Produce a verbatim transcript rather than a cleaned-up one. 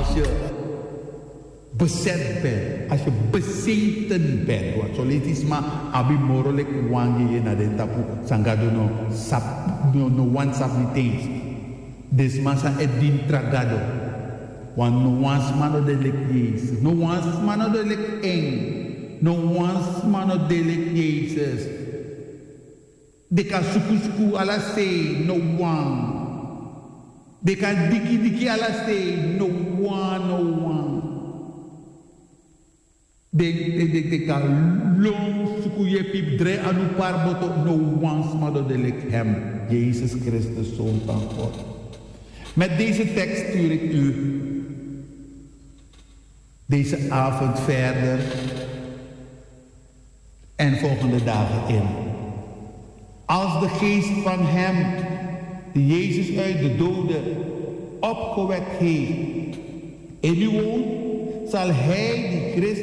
Als je bezet bent, als je bezeten bent, want soleisi sma abi moro leki wan yeye na den tapu san Gado no sabi, no, no wan sabi niti eens. Den sma san e dini tra Gado. Want no wan sma no de leki Yesus, no wan sma no de leki en, no wan sma no de leki Yesus. Den kan sukusuku ala sei, no wan. Den kan dikidiki ala sei, no wan, no wan. Den, den, den, den kan lon suku yepi drai anu parboto, no wan sma no de leki hem. Jezus Christus, Zoon van God. Met deze tekst stuur ik u deze avond verder en volgende dagen in. Als de geest van hem die Jezus uit de doden opgewekt heeft in u woont, zal hij die Christus